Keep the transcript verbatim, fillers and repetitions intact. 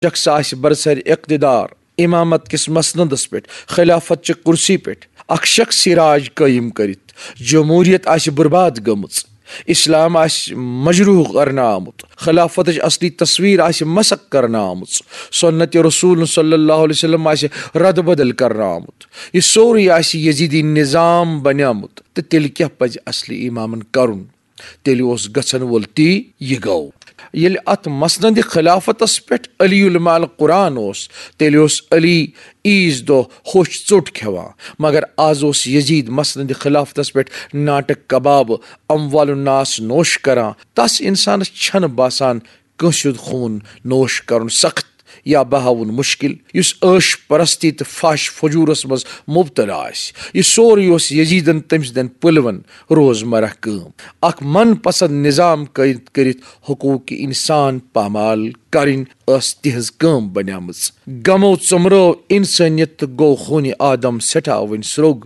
شخص آسہِ برسر اقتدار، امامت کِس مسندس پٮ۪ٹھ، خلافت چہِ کرسی پٮ۪ٹھ اکھ شخصی راج قٲیِم کٔرِتھ، جمہوریت آسہِ برباد گٔمٕژ، اسلام آسہِ مجروح کرنہٕ آمُت، خلافتٕچ اصلی تصویر آسہِ مسخ کرنہٕ آمٕژ، سنت رسول صلی اللہ علیہ وسلم آسہِ رد بدل کرنہٕ آمُت، یہِ سورُے آسہِ یزیدی نظام بنیومُت، تہٕ تیٚلہِ کیٛاہ پزِ اصلی امامن کرُن؟ تیٚلہِ اوس گژھن وول تی یہِ گوٚو۔ ییٚلہِ اتھ مسند خلافتس پٮ۪ٹھ علی علماء القرآن اوس، تیٚلہِ اوس علی عیٖذ دۄہ ہوٚچھ ژوٚٹ کھٮ۪وان، مگر از اوس یزید مسند خلافتس پٮ۪ٹھ ناٹک کباب، اموال الناس نوش کران۔ تس انسانس چھنہٕ باسان کٲنٛسہِ ہُنٛد خوٗن نوش کرُن سخت یا بہاوُن مشکل۔ یُس عٲش پرستی تہٕ فحش فجورس منٛز مبتلا آسہِ، یہِ سورُے اوس یزیدن تٔمۍ سٕنٛدٮ۪ن پلون روزمرہ کٲم۔ اکھ من پسند نظام قٲیِد کٔرِتھ حقوق انسان پامال کرٕنۍ ٲس تِہنٛز کٲم بنیمٕژ۔ غمو ژۄمرٲو انسٲنیت تہٕ گوٚو خونِ آدم سٮ۪ٹھاہ وۄنۍ سرٛوگ۔